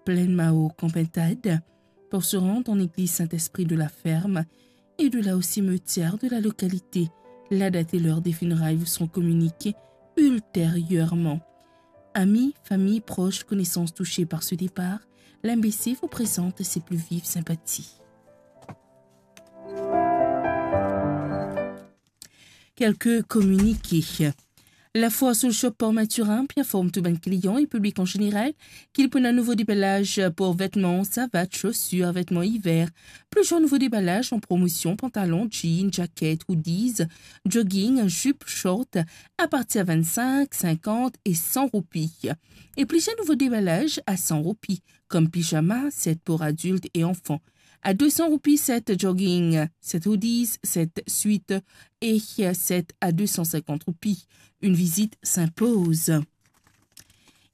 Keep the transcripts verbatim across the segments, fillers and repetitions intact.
Plaine Mao Campentade pour se rendre en l'église Saint-Esprit de la Ferme et de là au cimetière de la localité. La date et l'heure des funérailles vous seront communiquées ultérieurement. Amis, famille, proches, connaissances touchés par ce départ, l'M B C vous présente ses plus vives sympathies. Kelke kominike. Lafoire Soul Shop Port Mathurin pe inform tou bann klian e piblik an zeneral ki li pou ena nouvo debalaz pou vetman, savat, sosir, vetman iver. Plizier nouvo debalaz an promosion, pantalon, jean, jaket, hoodies, jogging, zip, short, apartir vinn-sink, sinkant e san roupi. E plizier nouvo debalaz a san roupi, kom pijama, set pou adilt e anfan. A de san roupi, set jogging, set hoodies, set swit e set a de san sinkant roupi. Une visite s'impose.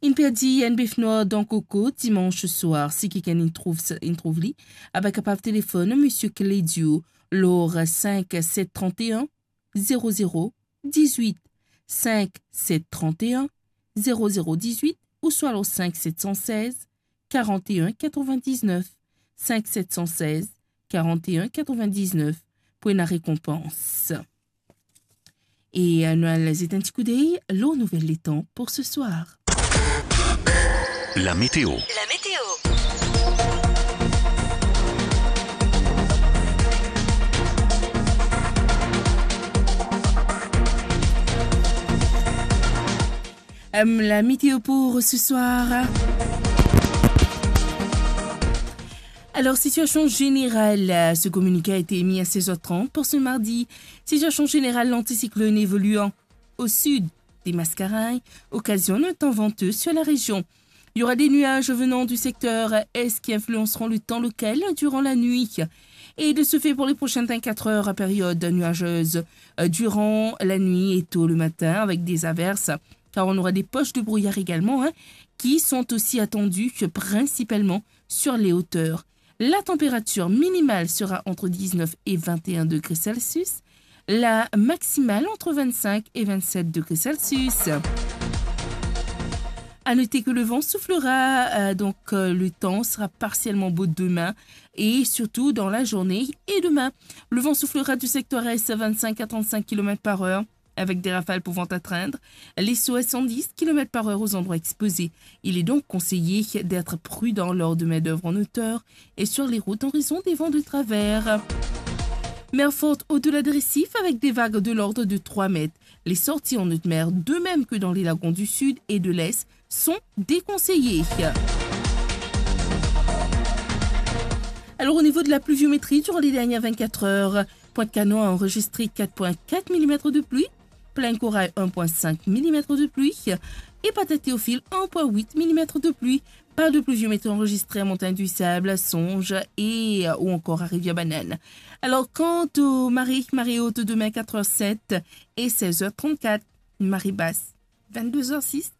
Inn perdi enn bef nwar dan koko dimans swar. Si kikenn inn trouv sa, inn trouv li, aba kapav telefonn Misie Clédio lor sink set trant e enn zero zero dizwit, sink set trant e enn zero zero dizwit, ouswa lor sink set san sez karant e enn katrovin-diznef, sink set san sez karant e enn katrovin-diznef pou ena rekonpans. E, euh, nou al zet enn ti koudey lor nouvel letan pou se swar. La météo. La météo. Euh, la météo pour ce soir. Alors, situation générale, euh, ce communiqué a été émis à seize heures trente pour ce mardi. Situation générale, l'anticyclone évoluant au sud des Mascareignes occasionne un temps venteux sur la région. Il y aura des nuages venant du secteur est qui influenceront le temps local durant la nuit. Et de ce fait, pour les prochaines vingt-quatre heures, période nuageuse, euh, durant la nuit et tôt le matin, avec des averses, car on aura des poches de brouillard également, hein, qui sont aussi attendues principalement sur les hauteurs. La température minimale sera entre dix-neuf et vingt et un degrés Celsius, la maximale entre vingt-cinq et vingt-sept degrés Celsius. À noter que le vent soufflera, euh, donc, euh, le temps sera partiellement beau demain et surtout dans la journée et demain. Le vent soufflera du secteur est à vingt-cinq à trente-cinq kilomètres par heure, avec des rafales pouvant atteindre les soixante-dix kilomètres par heure aux endroits exposés. Il est donc conseillé d'être prudent lors de main-d'œuvre en hauteur et sur les routes en raison des vents de travers. Mer forte au-delà des récifs avec des vagues de l'ordre de trois mètres. Les sorties en haute mer, de même que dans les lagons du sud et de l'est, sont déconseillées. Alors, au niveau de la pluviométrie, durant les dernières vingt-quatre heures, Pointe-Canon a enregistré quatre point quatre millimètres de pluie, Plaine Corail un point cinq millimètres de pluie et Patate Théophile un point huit millimètres de pluie. Pas de pluviométrie enregistrée à Montagne du Sable, Songe et, euh, ou encore à Rivière-Banane. Alors, quant aux marées, marée haute demain quatre heures sept et seize heures trente-quatre, marée basse vingt-deux heures six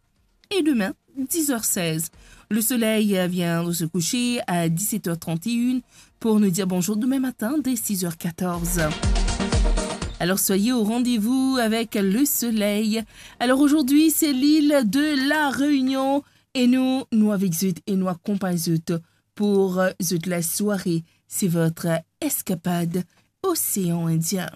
et demain dix heures seize. Le soleil vient de se coucher à dix-sept heures trente et une pour nous dire bonjour demain matin dès six heures quatorze. Alors soyez au rendez-vous avec le soleil. Alors aujourd'hui, c'est l'île de la Réunion et nous, nou avek zot e nou akonpagn zot pour, euh, zot la soirée. C'est votre escapade Océan Indien.